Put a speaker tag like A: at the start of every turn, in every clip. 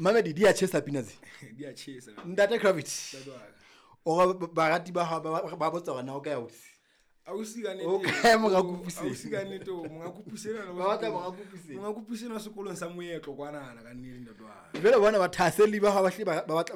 A: Mamedi di a tjhesa pina tse.
B: Di a tjhesa.
A: Ntate Gravity.
B: Ntate wa ka.
A: O re barati ba hao ba botsa hore na o kae ausi.
B: Ausi ka nnete.
A: O kae monga Kupuseng?
B: Ausi ka nnete, o monga Kupuseng ena.
A: Ba batla monga Kupuseng.
B: Monga Kupuseng wa sekolong sa moetlo kwanana ka nnete ntate wa ka.
A: Jwale bona bathahaselli ba hao ba hlile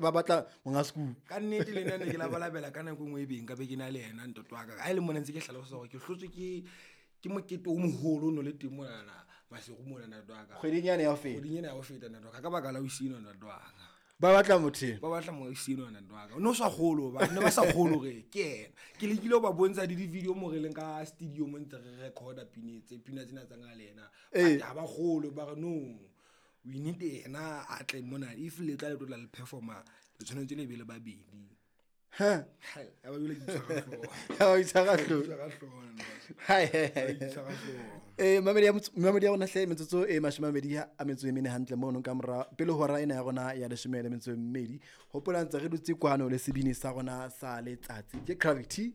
A: ba batla monga sekolo.
B: Ka nnete le nna ne ke labalabela ka nako e nngwe e beng ka be ke na le yena ntate wa ka. Ha e le mona ntse ke hlalosa hore ke hlotswe ke mokete o moholo o no le teng monana Maseru mona ntate wa ka.
A: Kgweding yane ya ho feta.
B: Kgweding ena ya ho feta ntate wa ka, ka baka la ausi enwa ntate wa ka.
A: Ba batla motho eno.
B: Ba batla ausi enwa ntate wa ka. O no sa kgolwe hobane ne ba sa kgolwe hore ke yena. Ke lekile ho ba bontsha le di-video mo re leng ka studio mo ntse re record-a pina tse, pina tsena tsa nka le yena.
A: Ee.
B: But ha ba kgolwe ba re no, we need yena a tle mona. If le tla le tlo tla le perform-a, le tshwanetse le be le babedi.
A: Ha.
B: Hai, ya ba jwale ke itshwara hlooho.
A: Ya ba itshwara hlooho.
B: Ke itshwara hlooho, ntate.
A: Hai, hai, hai.
B: Ke itshwara hlooho.
A: Mamedi ya mamedi ya rona hle, metsotso e 28 hantle mono ka mora pele hora ena ya rona ya 12. Hopola ntse re dutse kwano le sebini sa rona sa letsatsi. Ke Gravity.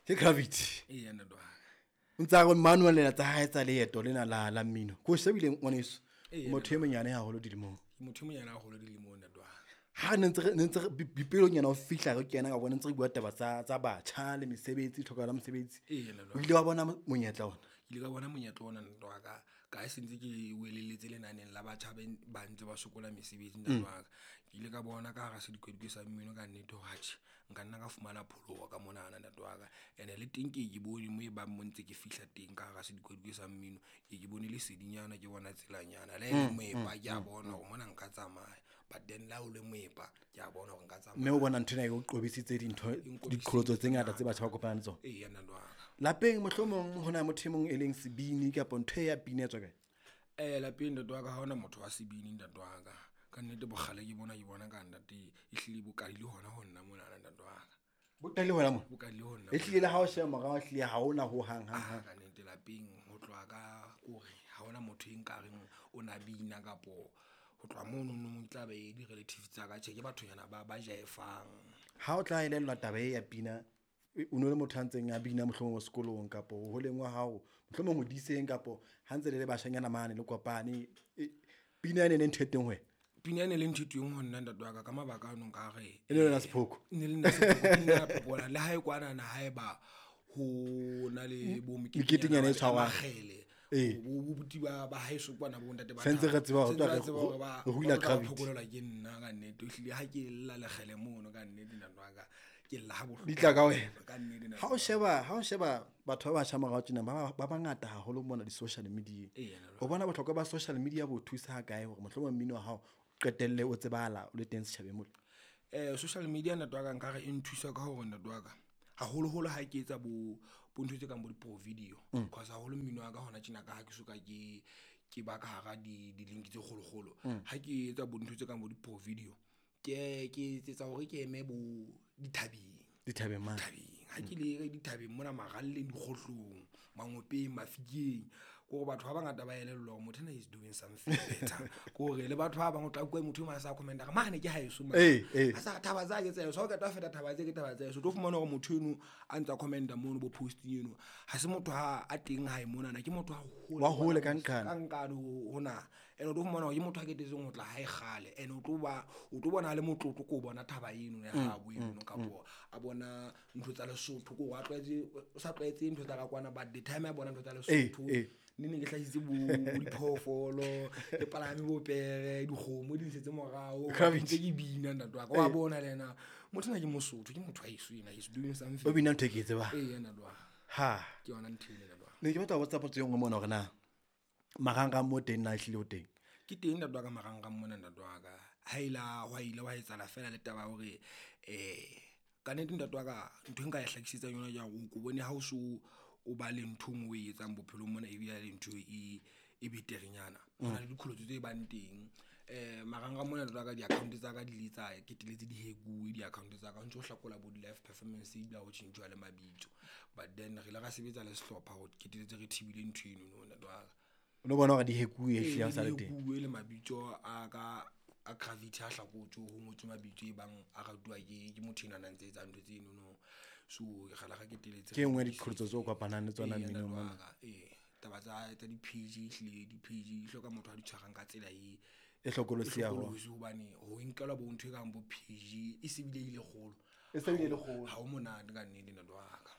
A: Ke Gravity.
B: Eya, ntate wa ka.
A: O ntse a re Manuel lena tsa hae tsa leeto lena la mmino. Ko shebile ngwaneso.
B: Eya,
A: Motho e monyane haholo dilemong.
B: Ke motho e monyane haholo dilemong, ntate wa ka.
A: Ha ne ntse re, ne ntse re, dipelong nyana ho fihla re kena ka bona ntse re bua taba tsa batjha le mesebetsi, tlhokahalo ya mosebetsi.
B: Eya, ntate wa
A: O ile wa bona monyetla ona?
B: Ke ile ka bona monyetla ona, ntate wa ka. Ka ha se ntse ke welelletse lenaneng la batjha ba ntse ba sokola mesebetsi, ntate wa ka. Ke ile ka bona ka hara sedikwadikwe sa mmino ka nnete hore atjhe, nka nna ka fumana pholoho ka monana, ntate wa ka. Ene le teng ke bone mo e bang mo ntse ke fihla teng ka hara sedikwadikwe sa mmino, ke bone lesedinyana, ke bona tselanyana. Le ha e le moepa, ke a bona hore mona nka tsamaya. But then le ha o le moepa, ke a bona hore nka tsamaya.
A: Mme o bona ntho ena e o qobisitse dintho,
B: E nqobisitse
A: diqholotso tse ngata tse batjha ba kopanang le tsona.
B: Eya, ntate wa ka.
A: Lapeng mohlomong ho na motho e mong e leng sebini kapa ntho e ya pina e tswa kae?
B: Lapeng ntate wa ka ha hona motho wa sebini, ntate wa ka. Ka nnete bokgale ke bona, ke bona ka ntate e hlile bo qadile hona ho nna monana, ntate wa ka.
A: Bo qadile hona mona?
B: Bo qadile ho nna
A: E hlile le ha o sheba morao, ehlile ha hona ho hang, hang, hang.
B: Ka nnete lapeng ho tloha ka kore ha hona motho e nkareng o na bina kapo ho tloha mono no tla be di-relatives tsa ka, tjhe ke bathonyana ba jaefang.
A: Ha o tla elellwa taba e ya pina, o no le motho a ntseng a bina mohlomong sekolong kapo ho holeng wa hao, mohlomong ho diseng kapo ha ntse le le bashanyana mane le kopane, pina ene e le ntho e teng ho wena?
B: Pina ene le ntho e teng ho nna, ntate wa ka, ka mabaka ano nka re,
A: E ne le yona sephoko?
B: E ne le nna sephoko, ke nna ya phokola. Le ha e kwanana, ha eba ho na le bo
A: Meketenyana e tshwarwang.
B: Makgele.
A: Ee.
B: Bo buti ba haeso kwana bo ntate ba
A: Sentse re tseba hore
B: Sentse re
A: re
B: tseba hore ba
A: re hula
B: ba tla
A: gravity.
B: phokolelwa ke nna ka nnete. Ehlile ha ke lla lekgele mono ka nnete, ntate wa ka, ke lla ha bohloko.
A: Di tla ka wena.
B: Ka nnete, ntate
A: Ha
B: wa ka.
A: o sheba batho ba batjha morao tjena, ba bangata haholo mona di-social media.
B: Eya, ntate wa
A: O bona bohlokwa ba social media bo thusa ha kae hore mohlomong mmino wa hao o qetelle o tsebahala o le teng setjhabeng mona?
B: Social media, ntate wa ka, nkare e nthusa ka hore, ntate wa ka, haholoholo ha ke etsa bo ntho tse kang bo di-pro video. Cause haholo mmino wa ka hona tjena ka ha ke soka ke ba ka hara di-link tse kgolokgolo. Ha ke etsa bo ntho tse kang bo di-pro video, ke etsetsa hore ke eme bo dithabeng.
A: Dithabeng mane.
B: Dithabeng. Ha ke le dithabeng mona maralleng, dikgohlong, mangopeng, mafikeng. Ke hore batho ba bangata ba elellwa hore motho ena is doing something better. Ke hore le batho ba bang o tla utlwa motho e mong a sa comment-a re, mane ke haeso mane.
A: Ee, ee.
B: A sa thaba tsa ke tsa heso. Ha o qeta ho feta thaba tse ke thaba tsa heso. O tlo fumana hore motho eno a ntsa comment-a mono bo posting eno, ha se motho ha a teng hae monana, ke motho a hole
A: Wa hole ka
B: kwana,
A: nqane.
B: ka nqane ho na. Ene o tlo fumana hore ke motho a ketetseng ho tla hae kgale. Ene o tlo bona a le motlotlo ko bona thaba eno ya habo eno, kapo a bona ntho tsa Lesotho, ko a tlwaetse, o sa tlwaetse ntho tsa ka kwana, but the time a bona ntho tsa Lesotho, ne ne ke hlahisitse bo diphoofolo, ke palame bo pere, dikgomo di nsetse morao,
A: Gravity.
B: ntse ke bina, ntate wa ka. Wa bona le yena, motho ena ke Mosotho, ke motho wa heso ena, he's doing something.
A: O bina ntho e ke e tsebang.
B: Ee, ntate wa ka.
A: Ha.
B: Ke yona ntho ena, ntate wa ka.
A: Ne ke batla ho botsa potso e nngwe mona hore na marangrang mo teng na ehlile o teng?
B: Ke teng, ntate wa ka, marangrang mona, ntate wa ka. Ha ila hwa ile wa etsahala fela le taba ya hore, ka nnete, ntate wa ka, ntho e nka e hlakisetsang yona ke ya hore o ko bone ha o so o ba le ntho e nngwe o e etsang bophelong mona, ebile le ntho e beterenyana. Ho na le diqholotso tse bang teng. Marangrang mona, ntate wa ka, di-account tsa ka di ile tsa keteletse di-hack-uwe di-account tsa ka. Ho ntso ho hlakola bo di-live performance ebile ha ho tjhentjhuwa le mabitso. But then re ile ra sebetsa le sehlopha ho keteletse re thibile ntho eno no, ntate wa ka.
A: O no bona hore di-hack-uwe
B: Ee,
A: ehlile ha o sa le teng.
B: di-hack-uwe le mabitso a ka a Gravity a hlakotswe, ho ngotswe mabitso e bang a ratuwa ke motho enwa a ntse etsa ntho tseno no. So re la ra keteletse
A: Ke e nngwe ya diqholotso tseo o kopanang le tsona
B: Ee,
A: mminong
B: ntate wa
A: mona.
B: ka, ee. Taba tsa di-page, ehlile di-page di hloka motho a di tshwarang ka tsela
A: E hlokolosi haholo.
B: Hlokolosi hobane ho nkelwa bo ntho e kang bo PG e se bile ile kgolo.
A: E se bile e le kgolo.
B: Ha o monate ka nnete ntate wa ka.